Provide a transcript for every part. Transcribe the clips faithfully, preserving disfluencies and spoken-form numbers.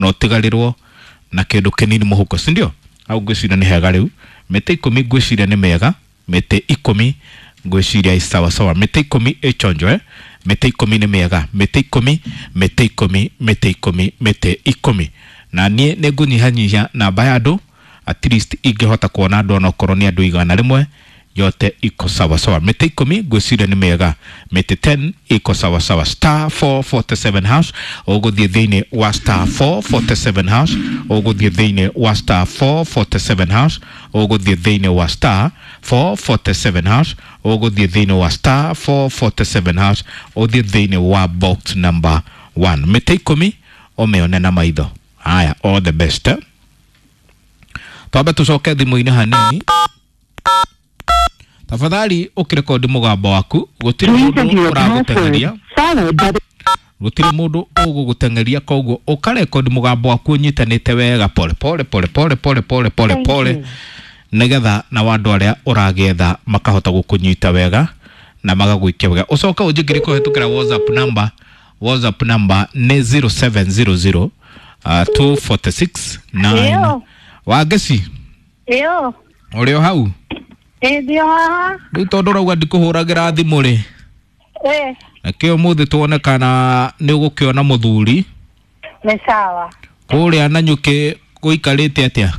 Na ũtigarĩrwo na kĩndũ kĩnini mũhuko, si ndio? Hau ngwĩciria nĩ hega. Rĩu mĩtĩ ikũmi ngwĩciria nĩ mĩega, mĩtĩ ikũmi ngwĩciria sawa sawa, mĩtĩ ikũmi ĩchonjo, eh? Mĩtĩ ikũmi nĩ mĩega, mĩtĩ ikũmi, mĩtĩ ikũmi, mĩtĩ ikũmi, mĩtĩ ikũmi. Na niĩ nĩ ngũnyihanyihia namba ya andũ, at least ingĩhota kuona andũ onokorwo nĩ andũ igana rĩmwe, yote iko sawa sawa. Mĩtĩ ikũmi ngwĩciria nĩ mĩega, mĩtĩ ten iko sawa sawa. Star four forty-seven hash, ũgũthiĩ thĩinĩ wa star four forty-seven hash, ũgũthiĩ thĩinĩ wa star four forty-seven hash, ũgũthiĩ thĩinĩ wa star four forty-seven hash, ũgũthiĩ thĩinĩ wa star four forty-seven hash, ũthiĩ thĩinĩ wa box number one, mĩtĩ ikũmi ũmĩone na maitho. Haya, all the best, eh? Twambe tũcoke thimũ-inĩ hanini. Tafadhali ũkĩrekodi mũgambo waku, gũtirĩ mũndũ ũragũteng'eria, gũtirĩ mũndũ ũgũgũteng'eria, koguo ũkarekodi mũgambo waku ũnyitanĩte wega, pole pole pole pole pole pole pole pole, nĩgetha na andũ arĩa ũragĩetha makahota gũkũnyita wega na magagũikia wega. Ũcoke ũnjĩkĩre kũhĩtũkĩra WhatsApp number. WhatsApp number nĩ zero seven zero zero uh, two four six nine. Ĩyo. Wangeci. Ĩyo. Ũrĩ o hau? Ĩ, ndĩ o haha. Rĩu tondũ ũrauga ndikũhũragĩra thimũ rĩ, Ĩ. nakĩo ũmũthĩ tuone kana nĩ ũgũkĩona mũthuri. Nĩ sawa. Kũrĩa Nanyuki gũikarĩte atĩa?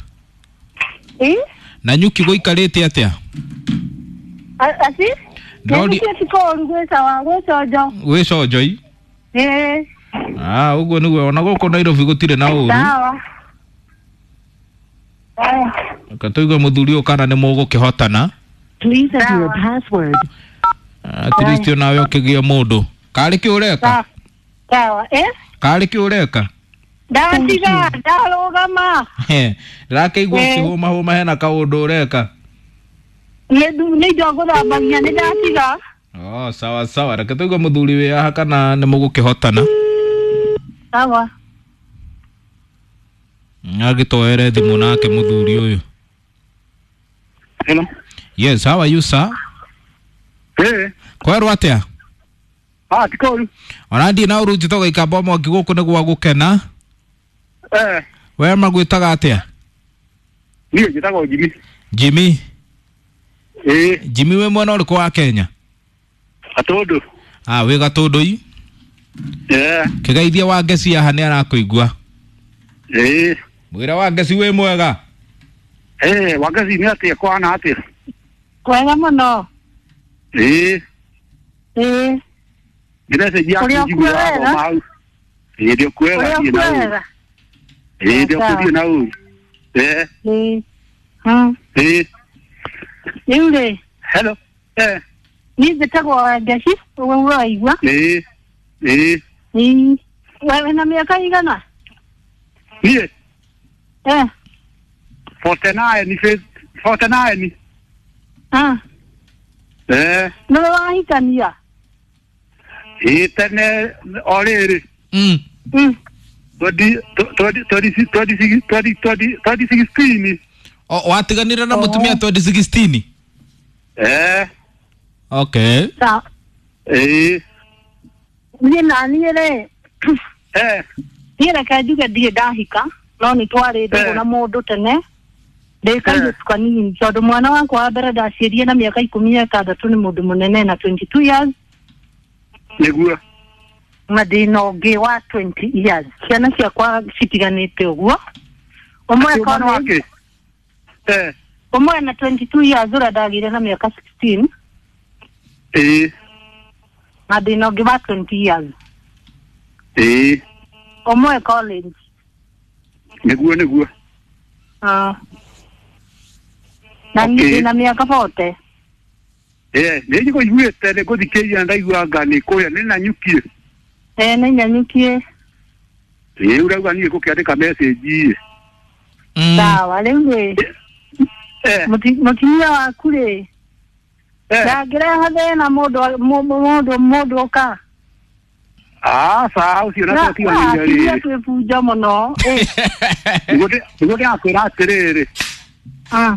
Ĩ. Nanyuki gũikarĩte atĩa? A- aci Ndĩrori- Nĩkĩo ti kũũru, gwĩ sawa, gwĩ conjo. Gwĩ conjoi. Ĩ. Ah, ũguo nĩguo ona gũkũ Nairobi gũtirĩ na ũru. Sawa. Aya. Reke tũigue mũthuri ũyũ kana nĩ mũgũkĩhotana. Please enter your Sawa. password. At least onawe ũkĩgĩe mũndũ karĩ kĩ ũreka. Sawa. Sawa. Ĩ. Karĩ kĩ ũreka? Ndatiga, ndarũgama. Ndĩrakĩigua Ĩ. ũkĩhũmahũma, hena kaũndũ ũreka. Nĩ ndu- nĩ indo ngũthambagia, nĩ ndatiga. Oh, sawa sawa, reke tũigue mũthuri wĩ haha kana nĩ mũgũkĩhotana. Sawa. Agĩtwoere thimũ nake mũthuri ũyũ. Hello. Yes, how are you, sir? Eh, Kwerwo atĩa? ah, tikoru. Ona ndiĩ na ũru, njĩtagwo Ikamba Mwaki, gũkũ nĩ gwa gũkena. Eh, we magwĩtaga atĩa? Niĩ njĩtagwo Jimmy. Jimmy. Eh, Jimmy, wĩ mwena ũrĩkũ wa Kenya? Gatũndũ. Ah, wĩ Gatũndũ-i. Eh, Kĩgeithia wa ngeci haha, nĩ arakũigua. eh, Mwĩra wa ngeci wĩ mwega. eh, Wangeci, nĩ atĩa, kwana atĩa? Kwega mũno. Eh, Ĩ. nĩ message yaku Ũrĩ o njiguaga kuo wega? thoma hau. Eh, ndĩ kuo wega, Ũrĩ o thiĩ kuo na ũru. wega? Eh, ndĩ Sawa. kuo, thiĩ na ũru. Eh, Ĩ. Hmm. eh, Rĩu rĩ, hello. Eh, niĩ njĩtagwo Wangeci, ũguo ũraigua. eh, eh, Ĩ. We wĩna mĩaka igana? Niĩ Eh. forty-nine, forty-nine. Ah. Eh, Nĩwe wahikania? eh, tene o rĩrĩ. mm. Mm. twenty twenty twenty twenty twenty twenty sixteen. O, watiganire na mũtumia twenty sixteen? Eh, Okay. Sawa. eh, Niĩ na niĩ rĩ, eh, niĩ reke njuge ndirĩ ndahika, no nĩ twarĩ ndũgũ Eh. na mũndũ tene ndĩ kairĩtu kanini, tondũ mwana wakwa wa mbere ndaciarire na mĩaka ikũmi na ĩtandatũ, nĩ mũndũ mũnene na twenty-two years. Nĩguo. Na ndĩna ũngĩ wa twenty years. Ciana ciakwa citiganĩte ũguo, ũmwe Mwana akorwo wake? Eh, ũmwe na twenty-two years, ũrĩa ndagĩire na mĩaka sixteen, eh, na ndĩna ũngĩ wa twenty years, eh, ũmwe college. Nĩguo nĩguo. Ah. Na niĩ Okay. ndĩna mĩaka forty. Eh, nĩ njiguĩte, nĩ ngũthikĩrĩria, ndaigua anga nĩ kũrĩa nĩ Nanyukie. Eh, nĩ Nyanyukie. Ĩ, ũrauga niĩ ngũkĩandĩka message. Mm. Sawa, rĩu rĩ, Eh, mũti- mũtumia waku rĩ, eh, ndangĩreha thĩna mũndũ mũ- mũndũ mũndũ ũka? Aca, ũcio na twatiganĩire atumia rĩ. twĩbunja mũno. Ĩ, Nĩguo ndĩ- nĩguo ndĩrakwĩra atĩrĩrĩ. ah.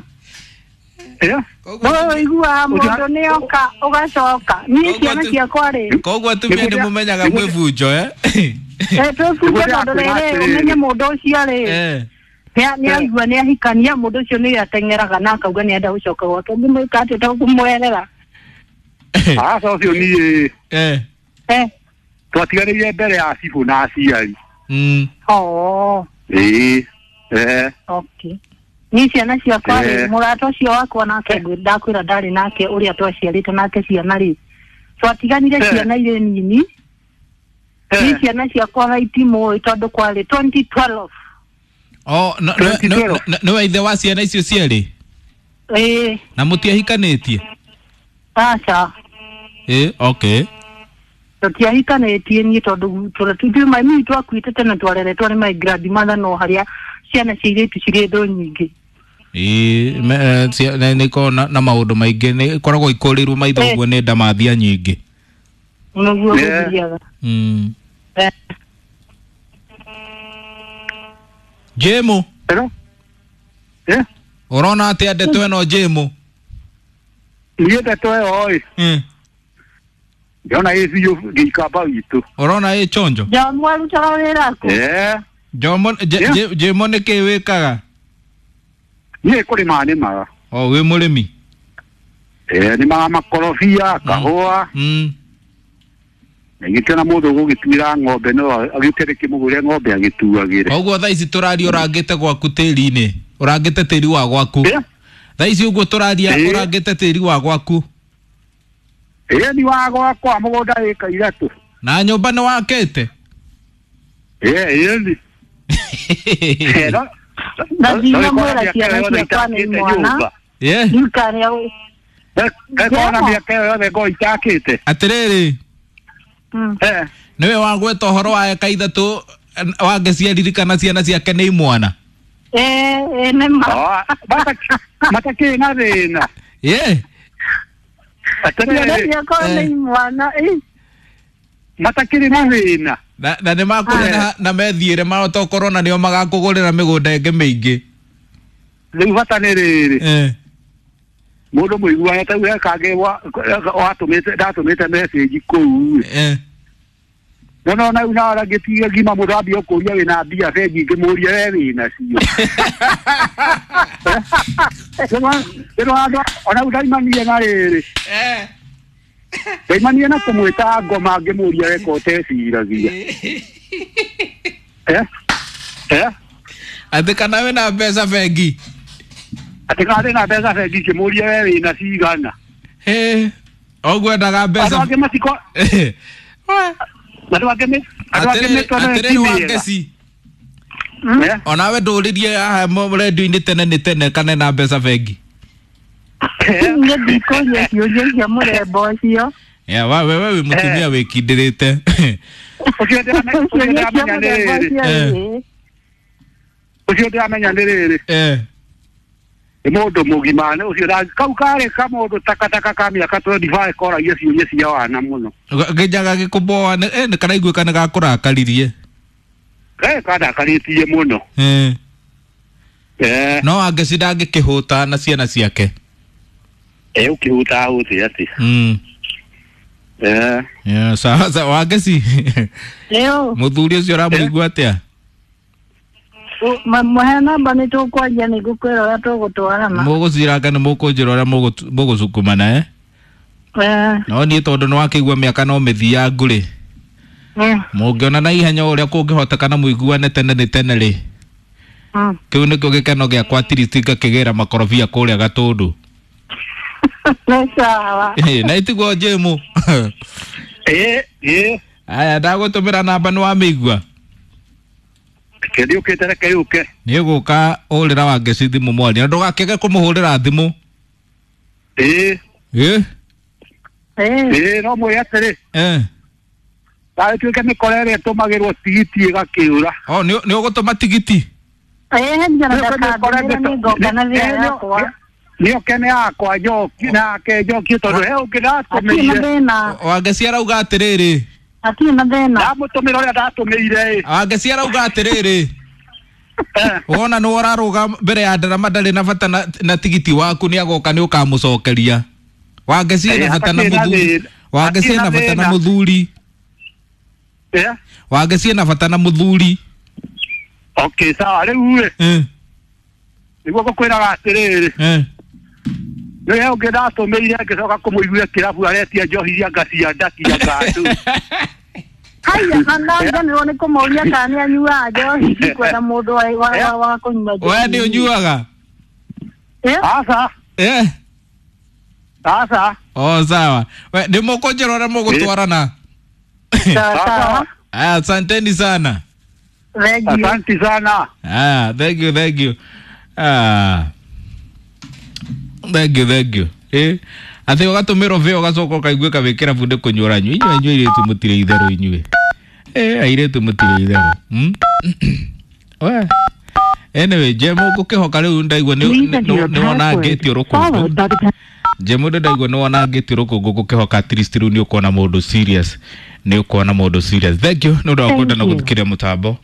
Eh, Wewe ũiguaga mũndũ nĩ oka ũgacoka, niĩ Koguo ciana tu- ciakwa rĩ, Koguo atumia Nĩguo nĩ ndĩa- mũmenyaga nĩguo ndĩa- mwĩbunjo, eh? Eh twĩbunde tondũ rĩrĩ ũmenye mũndũ ũcio rĩ nĩ aigua nĩ ahikania mũndũ ũcio nĩ ateng'eraga na akauga nĩ enda gũcoka gwake ngĩmwĩka atĩa to kũmwerera. Aca ũcio niĩ eh eh twatiganĩire mbere ya cibũ na aciari. Mm. Oh. Ĩĩ. Eh. Okay. Ni ciana ciakwa rĩ mũrata ũcio wakwa nake ndakwĩra ndarĩ nake ũrĩa twaciarĩte nake ciana rĩ twatiganire ciana irĩ nini. Ni ciana ciakwa thaa itimũĩ tondũ kwarĩ twenty twelve. Oh, no no no ithe wa ciana icio cierĩ? Ĩĩ. Na mũtiahikanĩtie? Aca. Ĩĩ, okay. Tũtiahikanĩtie niĩ tondũ tũrĩa mami twakuĩte tene twareretwo nĩ my grandmother no harĩa ciana cia airĩtu cirĩ thũ nyingĩ. Ĩĩ, nĩ ikoragwo na maũndũ maingĩ, nĩ ikoragwo ikũrĩirwo maitho ũguo nĩ ndamathia nyingĩ. Nĩguo gũthiaga. Mm. Jemo. Hello? Eh? Ũrona atĩa ndeto ĩno Jemo? Niĩ ndeto ĩyo ĩ. Mm. Ndĩrona ĩ biũ gĩikamba witũ. Ũrona ĩ chonjo? Jomo arutaga wĩra kũ? Eh. Jomo Jemo nĩ kĩ wĩkaga? Niĩ kũrĩma nĩmaga. O wĩ mũrĩmi? Eh, nĩmaga makorobia, kahũa. Mm. Na gĩkĩona mũndũ ũgũgĩtuĩra ng'ombe no agĩũke rĩkĩmũgũrĩre ng'ombe agĩtuagĩre. Koguo thaa ici tũraria ũrangĩte gwaku tĩri-inĩ, ũrangĩte tĩri wa gwaku. Thaa ici ũguo tũraria ũrangĩte tĩri wa gwaku. Ĩĩ ni wa gwakwa mũgũnda ĩka ithatũ. Na nyũmba nĩ wakĩte? Ĩĩ ĩĩ ni. Na ndinamwĩra ciana ciakwa nĩ mwana. Ĩĩ. Ndikarĩa. Ngona mĩaka ĩyo yothe ngorwo itakĩte. Atĩrĩrĩ. Eh. Nĩwe wagweta ũhoro wa eka ithatũ wangĩciaririkana ciana ciake nĩ imwana. Eh, eh nĩ ma. Matakĩrĩ na thĩna. Ĩĩ. Ciana ciakwa nĩ imwana. Matakĩrĩ na thĩna. Na na nĩ makũrĩ na methiĩre mahota gũkorwo na nĩo magakũgũrĩra mĩgũnda ĩngĩ mĩingĩ. Rĩu bata nĩ rĩrĩ. Eh. Mũndũ mũiguane ta rĩu he kangĩ watũmĩte ndatũmĩte message kũu. Eh. No no na una ngĩtiga ngima mũndũ ambia kũria wĩna mbia bengi ngĩmũria we wĩna cio. Rĩu andũ ona rĩu ndaimanie na rĩrĩ. Eh. Ndaimanie na kũmwĩta ngoma ngĩmũria we ko ũteciragia. Eh? Eh? Atĩ kana wĩna mbeca bengi? Atĩ kana ndĩna mbeca bengi ngĩmũria we wĩna cigana. Eh. Ũguo endaga mbeca. Andũ angĩ matiko. Andũ angĩ andũ angĩ mĩtwe Atĩrĩrĩ Wangeci. Onawe ndũrĩrie haha redio-inĩ tene nĩ tene kana ena mbeca bengi. Niĩ ndikũria ciũria cia mũthemba ũcio. Yeah, wa wewe wĩ mũtumia wĩkindĩrĩte. Ũcio ndĩramenya nĩ rĩrĩ. Ũcio ndĩramenya nĩ rĩrĩ. Eh. Nĩ mũndũ mũgima ũcio kau karĩ kamũndũ takataka ka mĩaka twenty-five koragia ciũria cia wana mũno. Ngĩnjaga gĩkũboa nĩ karaiguĩka nĩ gakũrakaririe. Eh, kandakarĩtie mũno. Eh. Eh. No Wangeci ndangĩkĩhũta na ciana ciake. Eh, ũkĩhũta hũte atĩa? Mm. Eh. Yeah, sawa sawa Wangeci. Leo. Mũthuri ũcio ũramũigua atĩa? Mũhe namba nĩ tũkwaria nĩ ngũkwĩra ũrĩa tũgũtwarana. Mũgũciranga nĩ mũkũnjĩra ũrĩa mũgũcukumana eh? Eh. No niĩ tondũ nĩ wakĩigua mĩaka no mĩthiangu rĩ. Mũngĩona na ihenya ũrĩa kũngĩhoteka na mũiguane tene nĩ tene rĩ. Kĩu nĩkĩo gĩkeno gĩakwa at least ngakĩgĩra makorobia kũrĩa Gatũndũ. Nĩ sawa. Na itiguo Jĩmũ. Ĩĩ ĩĩ. Aya ndagũtũmĩra namba nĩ wamĩigua. Kĩndĩ ũkĩte reke yũke. Nĩ ũgũka hũrĩra Wangeci thimũ mwaria na ndũgakĩage kũmũhũrĩra thimũ. Ĩĩ. Ĩĩ. Ĩĩ no mwĩre atĩrĩ. Eh. Ndagĩtuĩke mĩkora ĩrĩa ĩtũmagĩrwo tigiti ĩgakĩũra. Oh nĩ ũgũtũma tigiti? Ĩĩ njara ndakandĩra nĩ ngoka na thĩra yakwa. Nĩ oke nĩ yakwa njoki nake njoki tondũ he ũngĩ ndatũmĩire. Wangeci arauga atĩrĩrĩ. Hatirĩ na thĩna. Ndamũtũmĩra ũrĩa ndatũmĩire ĩ. Wangeci arauga atĩrĩrĩ. Wona nĩ ũrarũga mbere ya ndarama ndarĩ na bata na, na tigiti waku nĩ agoka nĩ ũkamũcokeria. Wangeci ena bata na mũthuri. Wangeci ena bata na mũthuri. Eh? Wangeci ena bata na mũthuri. Okay, sawa rĩu rĩ. Eh. Nĩguo ngũkwĩraga atĩrĩrĩ. Eh. Nĩwe ũngĩ ndatũmĩire ngĩcoka kũmũiguĩra kĩrabu aretia njohi iria anga cia ndaki anga andũ. Haya, na ndariganĩrwo nĩ kũmũria kana nĩ anyuaga njohi, ndikwenda mũndũ wa wa wa kũnyua njohi. We nĩ ũnyuaga? Eh? Aca. Eh. Aca. Oh, sawa. We nĩ mũkũnjĩra ũrĩa mũgũtwarana. Sawa sawa. Aya, asanteni sana. Thank you. Asante sana. Ah, thank you, thank you. Ah. Thank you, thank you. Eh, atĩ ũgatũmĩrwo vĩ ũgacoka ũkaiguĩka wĩ kĩrabu nĩ kũnyua ũranyua. Inyuĩ inyuĩ airĩtu mũtirĩ itherũ inyuĩ. Eh, airĩtu mũtirĩ itherũ. Hmm? We. Anyway, Jemo ngũkĩhoka rĩu ndaigua nĩ nĩ wonangĩtio rũkũngũ. Jemo ndaigua nĩ wonangĩtio rũkũngũ ngũkĩhoka at least rĩu nĩ ũkuona mũndũ serious. Nĩ ũkuona mũndũ serious. Thank you nĩ ũndũ wa kwenda na gũthikĩrĩria mũtambo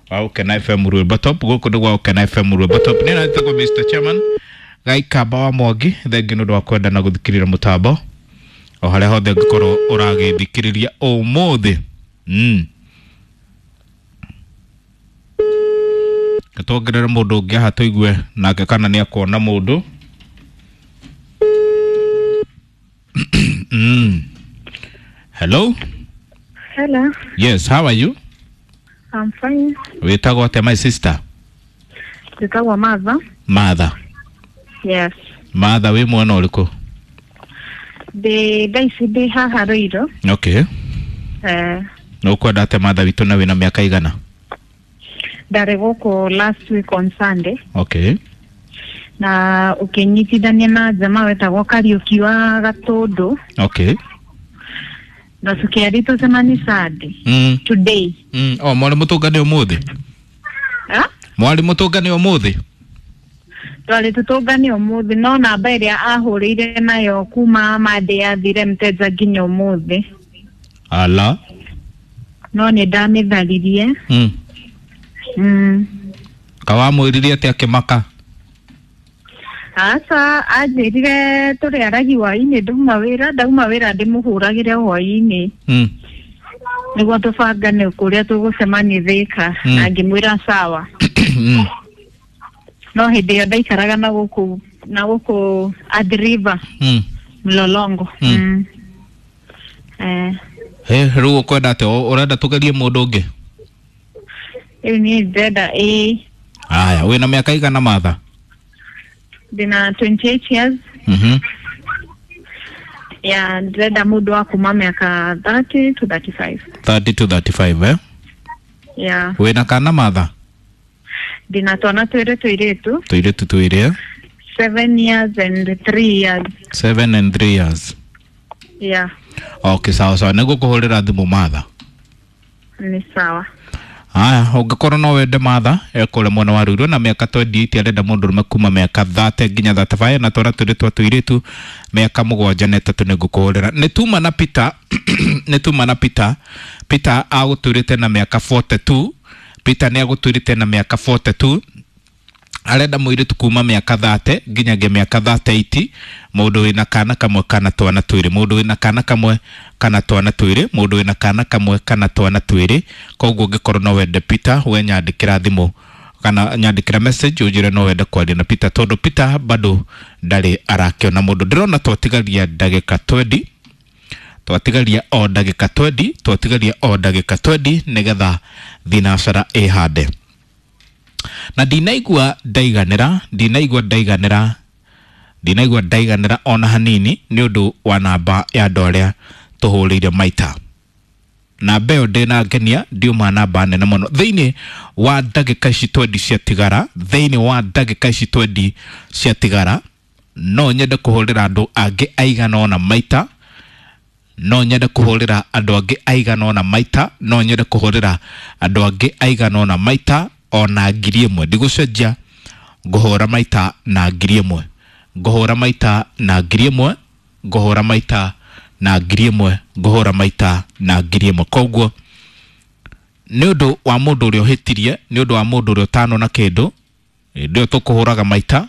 wa Ũkena F M Rwĩmbo Top. Gũkũ nĩ gwa Ũkena F M Rwĩmbo Top. Nĩ natagwo Mister Chairman Gaikamba wa Mwangi. Thank you nĩ ũndũ wa kwenda na gũthikĩrĩria mũtambo o harĩa hothe ũngĩkorwo ũragĩthikĩrĩria ũmũthĩ. Mm. Tuongerere mũndũ ũngĩ haha tũigue nake kana nĩ akuona mũndũ. Mm. Hello? Hello. Yes, how are you? I'm fine. Wĩtagwo atĩa my sister? Njĩtagwo Martha. Martha. Yes. Martha wĩ mwena ũrĩkũ? Ndĩ thaa ici ndĩ haha Ruiru. Okay. Eh. Na ũkwenda atĩa Martha witũ na wĩna mĩaka igana? Ndarĩ gũkũ last week on Sunday. Okay. Na ũkĩnyitithania na jamaa wetagwo Kariũki wa Gatũndũ. Okay. Na tũkĩaria tũcemanie Sunday. Mm. Today. Mm. Oh, mwarĩ mũtũngane ũmũthĩ? Ah? Mwarĩ mũtũngane ũmũthĩ? Twarĩ tũtũngane ũmũthĩ no namba ĩrĩa ahũrĩire nayo kuma Monday yathire mteja nginya ũmũthĩ. Ala. No nĩ ndamĩtharirie. Mm. Mm. Kawamwĩrire atĩa akĩmaka? Aca, anjĩrire tũrĩaragia hwaĩ-inĩ ndauma wĩra, ndauma wĩra ndĩmũhũragĩre hwaĩ-inĩ. Mm. Nĩguo tũbangane kũrĩa tũgũcemania Thĩka. Mm. Na ngĩmwĩra sawa. Mm. No hĩndĩ ĩyo ndaikaraga na gũkũ na gũkũ Athi River. Mm. Mlolongo. Mm. Mm. Eh. He, rĩu ũkwenda atĩa? Ũrenda tũgerie mũndũ ũngĩ? Rĩu niĩ ndĩrenda ĩĩ. Aya, wĩna mĩaka igana Martha? Ndĩna twenty-eight years. Mhm. Yeah, ndĩrenda mũndũ wa kuma mĩaka thirty to thirty-five. thirty to thirty-five, eh? Yeah. Wĩna kana Martha? Ndĩna twana twĩrĩ tũirĩtu. Tũirĩtu twĩrĩ, eh? Seven years and three years. Seven and three years. Yeah. Okay, sawa sawa. Nĩngũkũhũrĩra thimũ Martha. Nĩ sawa. Aya, ũngĩkorwo no wende Martha ekũrĩa mwena wa Ruiru na mĩaka twenty-eight arenda mũndũ ũrũme kuma mĩaka thirty nginya thirty-five na twana twĩrĩ twa tũirĩtu mĩaka mũgwanja na ĩtatũ nĩngũkũhũrĩra. Nĩ tuma na Peter nĩ tuma na Peter. Peter agũtũrĩte na mĩaka forty-two. Peter nĩ agũtũrĩte na mĩaka forty-two. Arenda mũirĩtu kuma mĩaka thirty nginyagia mĩaka thirty-eight, mũndũ wĩna kana kamwe kana twana twĩrĩ, mũndũ wĩna kana kamwe kana twana twĩrĩ, mũndũ wĩna kana kamwe kana twana twĩrĩ. Koguo ũngĩkorwo no wende Peter, we nyandĩkĩra thimũ kana nyandĩkĩra message ũnjĩre no wende kwaria na Peter, tondũ Peter bado ndarĩ arakĩona mũndũ. Ndĩrona twatigaria ndagĩka twenty, twatigaria o ndagĩka twenty, twatigaria o ndagĩka twenty nĩgetha thinacara ĩhande. Na ndinaigua ndaiganĩra, ndinaigua ndaiganĩra, ndinaigua ndaiganĩra ona hanini nĩ ũndũ wa namba ya andũ arĩa tũhũrĩire maita. Namba ĩyo ndĩnangenia, ndiuma namba nene mũno. Thĩinĩ wa ndagĩka ici twenty ciatigara, thĩinĩ wa ndagĩka ici twenty ciatigara, no nyende kũhũrĩra andũ angĩ aigana ũna maita, no nyende kũhũrĩra andũ angĩ aigana ũna maita, no nyende kũhũrĩra andũ angĩ aigana ũna maita ona ngiri ĩmwe. Ndigũcenjia, ngũhũra maita na ngiri ĩmwe, ngũhũra maita na ngiri ĩmwe, ngũhũra maita na ngiri ĩmwe, ngũhũra maita na ngiri ĩmwe. Koguo nĩ ũndũ wa mũndũ ũrĩa ũhĩtirie, nĩ ũndũ wa mũndũ ũrĩa ũtanona kĩndũ, hĩndĩ ĩyo tũkũhũraga maita,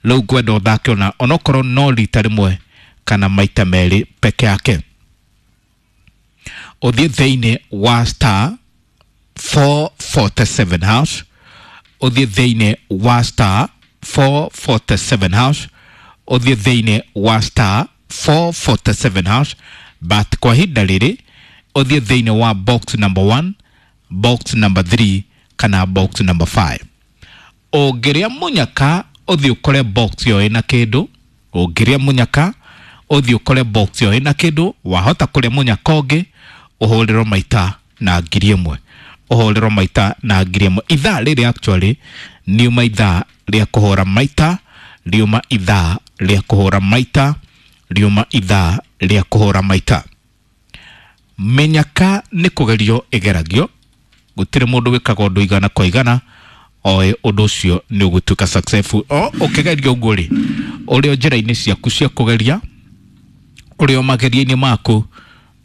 rĩu ngwenda ũthake ona onokorwo no rita rĩmwe kana maita merĩ peke yake. Ũthiĩ thĩinĩ wa star four forty-seven hash, ũthiĩ thĩinĩ wa star four forty-seven hash, ũthiĩ thĩinĩ wa star four forty-seven hash. But kwa ihinda rĩrĩ ũthiĩ thĩinĩ wa box number one, box number three kana box number five. Ũngĩrĩa mũnyaka ũthiĩ ũkore box ĩyo ĩna kĩndũ, ũngĩrĩa mũnyaka ũthiĩ ũkore box ĩyo ĩna kĩndũ, wahota kũrĩa mũnyaka ũngĩ ũhũrĩrwo maita na ngiri ĩmwe, ũhũrĩrwo maita na ngiri ĩmwe. Ithaa rĩrĩ actually niuma ithaa rĩa kũhũra maita, riuma ithaa rĩa kũhũra maita, riuma ithaa rĩa kũhũra maita. Mĩnyaka nĩ kũgerio ĩgeragio, gũtirĩ mũndũ wĩkaga ũndũ igana kwa igana oĩ ũndũ ũcio nĩ ũgũtuĩka successful. O ũkĩgeria ũguo rĩ, ũrĩ o njĩra-inĩ ciaku cia kũgeria, ũrĩ o mageria-inĩ maku,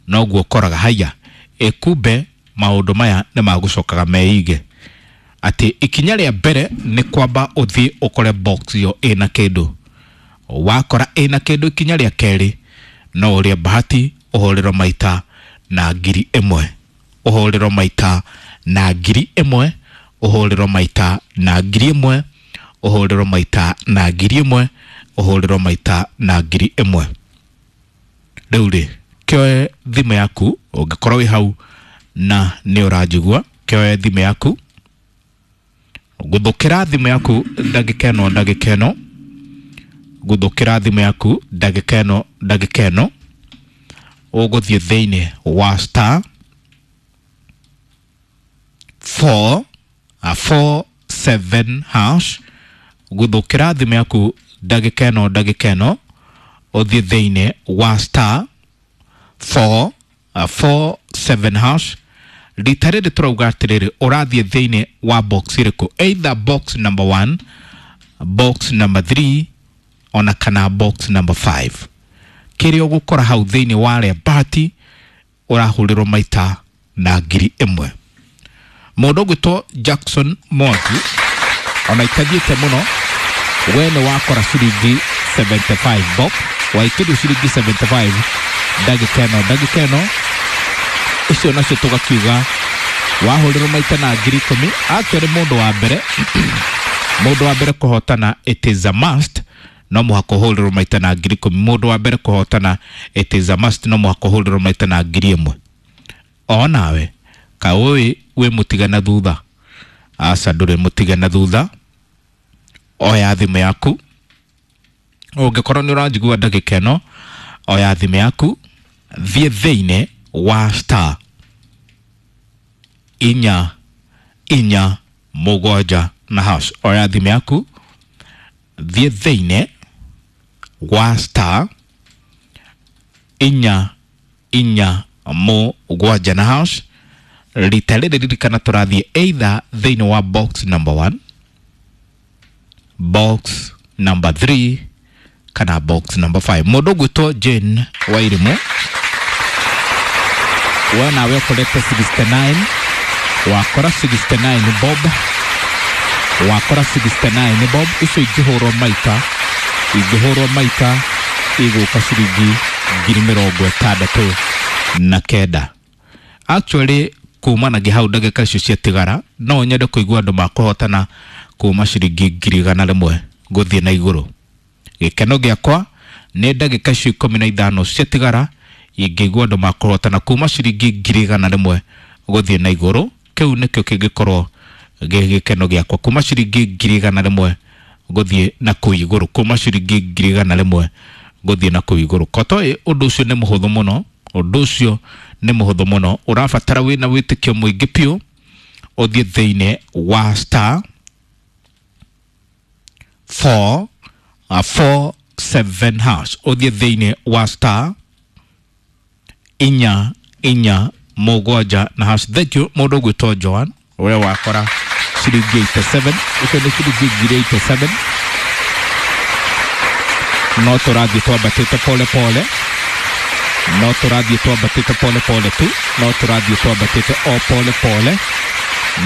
noguo ũkoraga haiya ĩkumbe maũndũ maya nĩ magũcokaga meige. Atĩ ikinya rĩa mbere nĩ kwamba ũthiĩ ũkore box ĩyo ĩna kĩndũ, wakora ĩna kĩndũ ikinya rĩa kerĩ no ũrĩe bahati ũhũrĩrwo maita na ngiri ĩmwe, ũhũrĩrwo maita na ngiri ĩmwe, ũhũrĩrwo maita na ngiri ĩmwe, ũhũrĩrwo maita na ngiri ĩmwe, ũhũrĩrwo maita na ngiri ĩmwe. Rĩu rĩ, kĩoe thimũ yaku ũngĩkorwo wĩ hau na nĩ ũranjigua, kĩoe thimũ yaku, guthukĩra thimũ yaku ndagĩka ĩno ndagĩka ĩno, guthukĩra thimũ yaku ndagĩka ĩno ndagĩka ĩno, ũgũthiĩ thĩinĩ wa star four four seven hash, guthukĩra thimũ yaku ndagĩka ĩno ndagĩka ĩno, ũthiĩ thĩinĩ wa star four four seven hash. Rita rĩrĩ tũrauga atĩrĩrĩ, ũrathiĩ thĩinĩ wa box ĩrĩkũ? Either box number one, box number three ona kana box number five. Kĩrĩa ũgũkora hau thĩinĩ wa rĩa bahati ũrahũrĩrwo maita na ngiri ĩmwe. Mũndũ ũgwĩtwo Jackson Mwangi ona itathiĩte mũno, we nĩ wakora ciringi seventy-five bob, waikĩrio ciringi seventy-five ndagĩka ĩno ndagĩka ĩno icio nacio tũgakiuga wahũrĩrwo maita na ngiri ikũmi. Actually mũndũ wa mbere mũndũ wa mbere kũhotana it is a must, no mũhaka ũhũrĩrwo maita na ngiri ikũmi. Mũndũ wa mbere kũhotana it is a must, no mũhaka ũhũrĩrwo maita na ngiri ĩmwe. O nawe kaũĩ wĩ mũtigana thutha? Aca, ndũrĩ mũtigana thutha. Oya thimũ yaku, ũngĩkorwo nĩ ũranjigua ndagĩka ĩno, oya thimũ yaku, thiĩ thĩinĩ wa star inya inya mũgwanja na hash. Oya thimũ yaku, thiĩ thĩinĩ wa star inya inya mũgwanja na hash. Rita rĩrĩ ririkana tũrathiĩ either thĩinĩ wa box number one, box number three kana box number five. Mũndũ ũgwĩtwo Jane Wairimu, we nawe ũkorete sixty-nine, wakora sixty-nine bob, wakora sixty-nine bob, icio ingĩhũrwo maita, ingĩhũrwo maita igũka ciringi ngiri mĩrongo ĩtandatũ na kenda. Actually kumanagia hau ndagĩka icio ciatigara no nyende kũigua andũ makũhotana kuma ciringi ngiri igana rĩmwe gũthiĩ na igũrũ. Gĩkeno gĩakwa nĩ ndagĩka icio ikũmi na ithano ciatigara ingĩigua andũ makũhotana kuma ciringi ngiri igana rĩmwe gũthiĩ na igũrũ, kĩu nĩkĩo kĩngĩkorwo gĩ gĩkeno gĩakwa, kuma ciringi ngiri igana rĩmwe gũthiĩ na kũu igũrũ, kuma ciringi ngiri igana rĩmwe gũthiĩ na kũu igũrũ. Kotoĩ ũndũ ũcio nĩ mũhũthũ mũno, ũndũ ũcio nĩ mũhũthũ mũno, ũrabatara wĩna wĩtĩkio mũingĩ biũ, ũthiĩ thĩinĩ wa star four four seven hash, ũthiĩ thĩinĩ wa star inya inya mũgwanja na hash. Thank you mũndũ ũgwĩtwo Joan, ũrĩa wakora ciringi eighty-seven, icio nĩ ciringi ngiri eighty-seven. No tũrathiĩ twambatĩte pole pole, no tũrathiĩ twambatĩte pole pole tu, no tũrathiĩ twambatĩte o pole pole,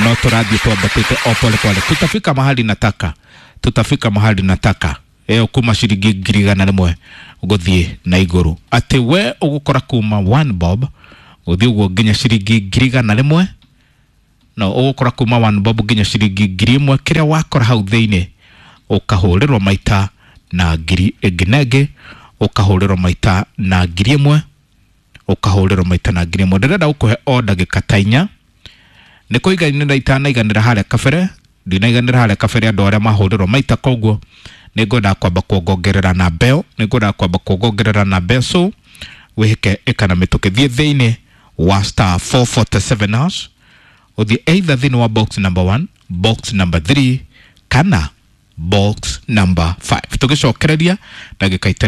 no tũrathiĩ twambatĩte o pole pole. Tutafika mahali nataka, tutafika mahali nataka. Ĩyo kuma ciringi ngiri igana rĩmwe gũthiĩ na igũrũ, atĩ we ũgũkora kuma one bob Gũthiĩ ũguo nginya ciringi ngiri igana rĩmwe. No ũgũkora kuma one bob nginya ciringi ngiri ĩmwe. Kĩrĩa wakora hau thĩinĩ ũkahũrĩrwo maita na ngiri ĩngĩ na ĩngĩ, ũkahũrĩrwo maita na ngiri ĩmwe, ũkahũrĩrwo maita na ngiri ĩmwe. Ndĩrenda gũkũhe o ndagĩka ta inya. Nĩ kũiganĩra itanaiganĩra harĩa kabere, ndinaiganĩra harĩa kabere andũ arĩa mahũrĩrwo maita, koguo nĩ ngwendaga kwamba kuongongerera namba ĩyo, nĩ ngwendaga kwamba kuongongerera namba ĩyo. So wĩhĩke ĩka na mĩtũkĩ, thiĩ thĩinĩ wa star four forty seven hash, ũthiĩ either thĩinĩ wa box number one, box number three kana box number five. Tũgĩcokereria ndagĩka itarĩ